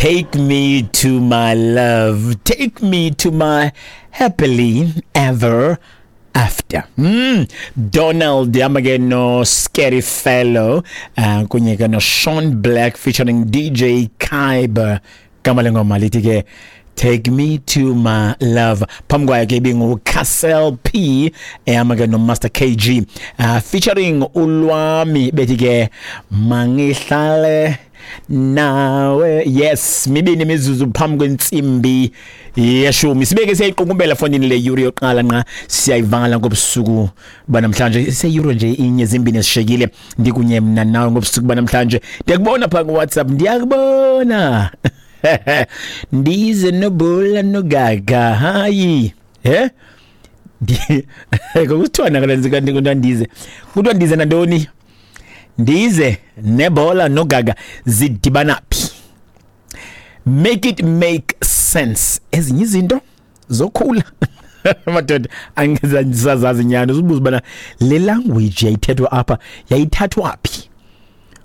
Take me to my love, take me to my happily ever after. Donald hamba ke no Scary Fellow kunye ke no Sean Black featuring DJ Kyber. Gama lengoma lithi ke Take Me to My Love. Phambi kwayo ke ibingu Castle P ehamba ke no Master KG featuring Ulwami bethi ke Mangihlale nawe. Yes, mibini imizuzu phambi kwentsimbi yeshumi. Sibeke siyayiqukumbela fondini le yuri yokuqala nqa siyayivala ngobusuku banamhlanje. Seyuro nje inye zimbini esishekile ndikunye mna nawe ngobusuku banamhlanje. Ndiyakubona pha ku WhatsApp, ndiyakubona. Ndize nobula nogaga hayi Kokuthiwa nakalenzika kuthiwa ndize, kuthiwa ndize nantoni? Ndize nebhola nogaga zidibana phi? Make it make sense. Ezinye izinto zokhula madoda angizazi nyani. Uzibuza ubana le language yayithethwa apha yayithathwa phi?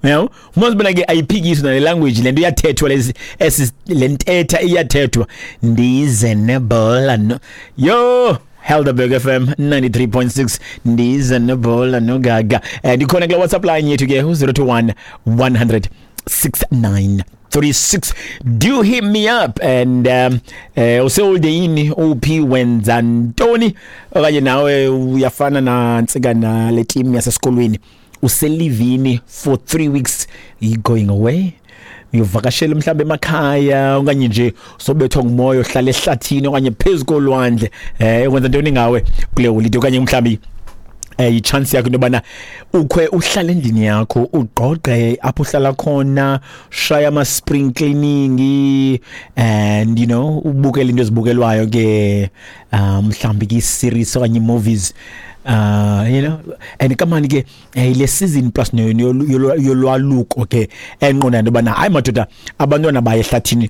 Yabo, umazi ke ayiphikiswa nale language, lento iyathethwa, lezi esi le ntetha iyathethwa. Ndize nebhola no yo Helderberg FM 93.6, ndize nebhola nogaga. Ndikhona kule WhatsApp line yethu ke 021 100 6936. Do hit me up and usewolde yini, uphi, wenza ntoni, okanye nawe uyafana nantsika nale team yasesikolweni uselivini for 3 weeks, you going away, uyovakashela mhlawumbe emakhaya, okanye nje sobethwa ngumoya ohlala ehlathini okanye phezu kolwandle, wenza ntoni ngawe kule holiday, okanye mhlawumbe i-chance yakho into yobana ukhwe uhlale endlini yakho, ugqogqe apho uhlala khona, shaya ama-spring cleaning and ubukele into ezibukelwayo ke, mhlawumbi ke i-series okanye i-movies, and kamani ke le season plus yolwaluko ke enqonda into yobana hayi madoda, abantwana baye ehlathini,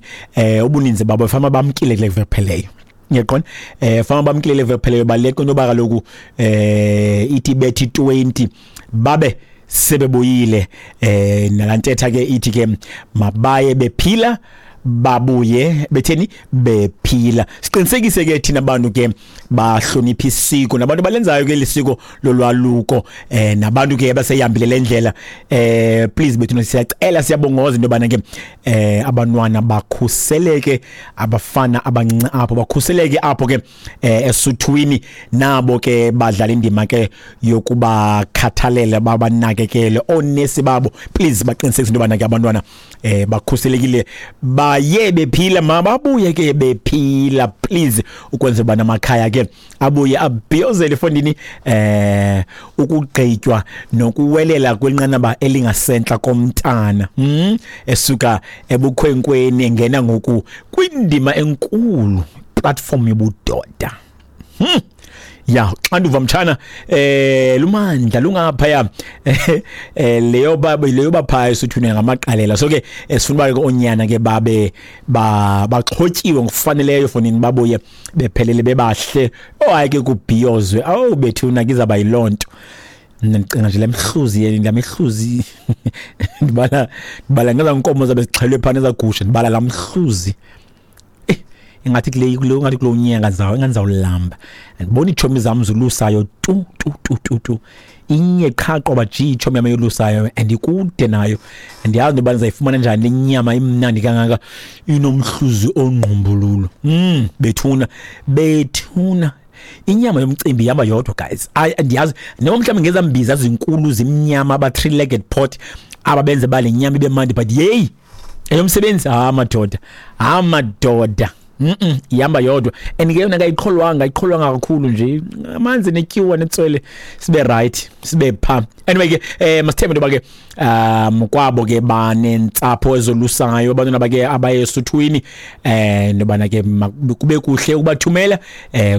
ubuninzi babo fama bamkile kule veki pheleyo. Ngiyaqonda fama bamkile le veki pheleyo, baleka into yoba kaloku ithi bethi 20 babe sebebuyile. Nalantetha ke ithi ke mabaye bephila, babuye betheni bephila. Siqinisekise ke thina bantu ke bahlonipha isiko nabantu balenzayo ke lisiko lolwaluko, nabantu ke abaseyihambile le ndlela, please bethu siyacela, siyabongoza into yobana ke abantwana bakhuseleke, abafana abancinci apho bakhuseleke apho ke esuthwini, nabo ke badlala indima ke yokubakhathalela, babanakekele oonesi babo. Please baqinisekise into yobana ke abantwana bakhuselekile, baye bephila, mababuye ke bephila, please, ukwenzela uba namakhaya ke abuye abhiyozele efondini ukugqitywa nokuwelela kwinqanaba elingasentla komntana, esuka ebukhwenkweni engena ngoku kwindima enkulu, platform yobudoda. Ya, xanduva mtshana lumandla lungaphaya, leyo baba leyo baphaya esuthwini ngamaqalela. So ke sifuna uba ke oonyana ke babe baxhotyiwe ngokufaneleyo fonini, babuye bephelele bebahle. Oh hayi ke kubhiyozwe, awu bethuna, kizaba yiloo nto. Ndicinga nje lemhluzi yeni lamhluzi, ndibala ngeza nkomo zabe zixhelwe phana, ezagusha, ndibala lamhluzi, ingathi kule ingathi kulo nyanga zawo ingathi zawulamba. Andibona iitshomi zam zolusayo tu tu tu tu tu, inye qha qoba ji itshomi yam eyolusayo and ikude nayo. Andiyazi into yoba ndizayifumana njani le nyama imnandi kangaka inomhluzi ongqumbululu. Bethuna bethuna, inyama yomcimbi ihamba yodwa guys. Ayi andiyazi noma mhlawumbi ngezambiza zinkulu zimnyama aba three legged pot ababenze bale nyama ibe mandi, but yeyi eyomsebenzi, ha madoda, ha madoda, ihamba yodwa. And ke yona kayiqholwanga, ayiqholwanga kakhulu nje, amanzi netyiwa netswele sibe right sibe pha. Anyway ke masithembe into yoba ke kwabo ke banentsapho ezolusayo, abantwana bake abaye esuthwini, nobana ke kube kuhle ukubathumela,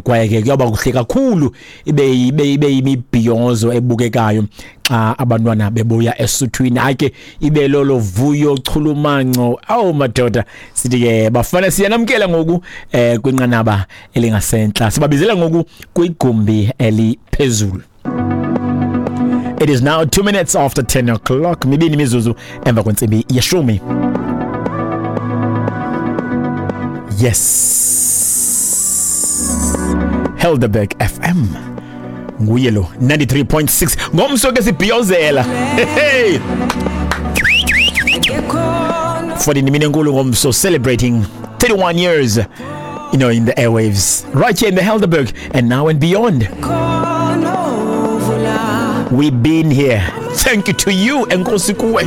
kwaye ke kuyawuba kuhle kakhulu, ibe imibhiyozo ebukekayo xa abantwana bebuya esuthwini. Hayi ke ibe lolo vuyo, chulumanco. Awu madoda, sithi ke bafana siyanamkela ngoku kwinqanaba elingasentla, sibabizela ngoku kwigumbi eliphezulu. It is now 2 minutes after 10 o'clock, mibini imizuzu emva kwentsimbi yeshumi. Yes, Helderberg FM nguye lo 93.6. Ngomso ke sibhiyozela, hey, for the imini enkulu ngomso, celebrating 31 years in the airwaves right here in the Helderberg and now and beyond. We've been here. Thank you to you. Enkosi kuwe.